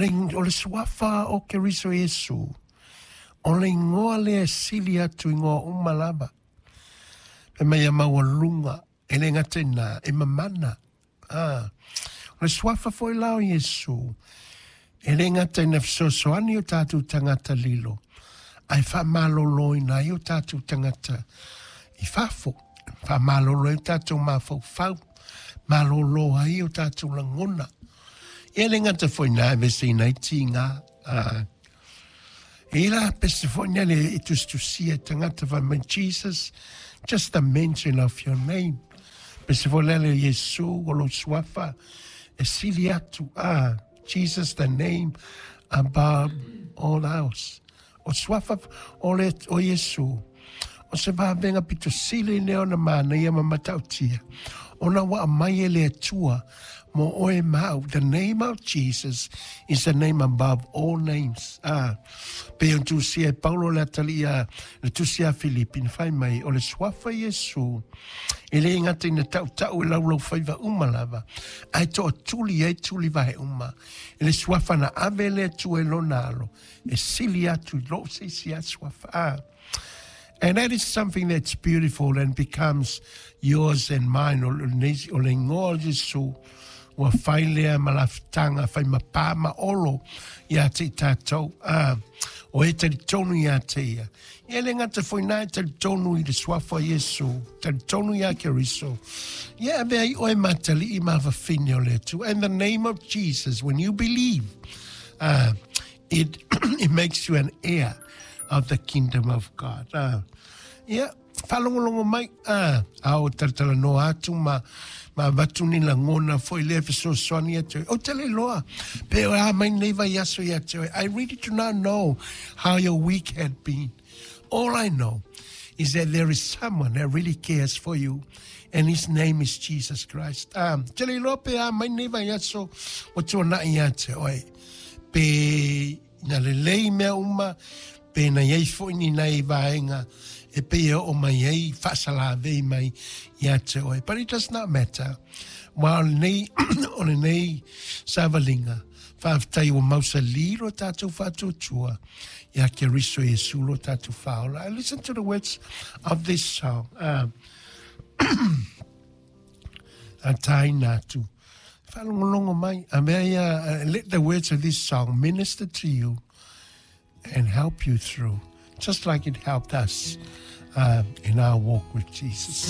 O le suafa o Keriso Iesu, o le igoa lea e sili atu igoa uma lava. Fai mai ia maualuga, e le gata i na, e mamana. Ah, o le suafa foi la o Iesu, e le gata ina fesoasoani o tatou tagata lilo, ae faamaloloina ai o tatou tagata i fafo, faamalolo ai o tatou mafaufau, malolo ai o tatou lagona. Ia le gata foi na aveseina ai tiga. Ah. E la pese foi nele e tusitusia e tagata fai mai Jesus, just the mention of your name. Pese foi lele Iesu o lou suafa e sili atu. Ah, Jesus the name above all else. O suafa o le o Iesu o se vavega pito sili lea ona manaia ma matautia ona ua aumai e le Atua mo oe ma au. The name of Jesus is the name above all names. Ah, pei ona tusia e Paulo le atalii a le tusi a Filipi na fai mai o le suafa Iesu e le gata ina tautau e laulau faiva uma lava ae toatuli ai tuli vae uma i le suafa na ave e le Atua i lona alo e sili atu i loo se isi a suafa. Ah. And that is something that's beautiful and becomes yours and mine. O le igoa o Iesu ua fai lea ma lafutaga fai ma pā ma olo ia te i tātou. Ah, o e talitonu ia te ia. Ia le gata foi nā e talitonu i le suafa o Iesu, talitonu ia Keriso. Ia avea ai oe ma atalii ma fafine o le Atua. In the name of Jesus, when you believe, it makes you an heir of the kingdom of God. Ia, faalogologo mai, a o talatalanoa atu ma ma avatu ni lagona foi lea fesoasoani atu ai. Ou te le iloa pe o a mai nei vaiaso ia te oe. I really do not know how your week had been. All I know is that there is someone that really cares for you and his name is Jesus Christ. Te le iloa pe a mai nei vaiaso ua tuanai ia te oe. Pe na lelei mea uma, pe na iai foi ni nai vaega e pei e oo mai ai faasalavei mai ia te oe. But it does not matter. Aua o lenei, o lenei savaliga, faafetai ua mausali lo tatou faatuatua ia Keriso Iesu lo tatou faaola. And listen to the words of this song. A tāina atu. Whaalongolongo mai. A mea ia, let the words of this song minister to you and help you through, just like it helped us in our walk with Jesus.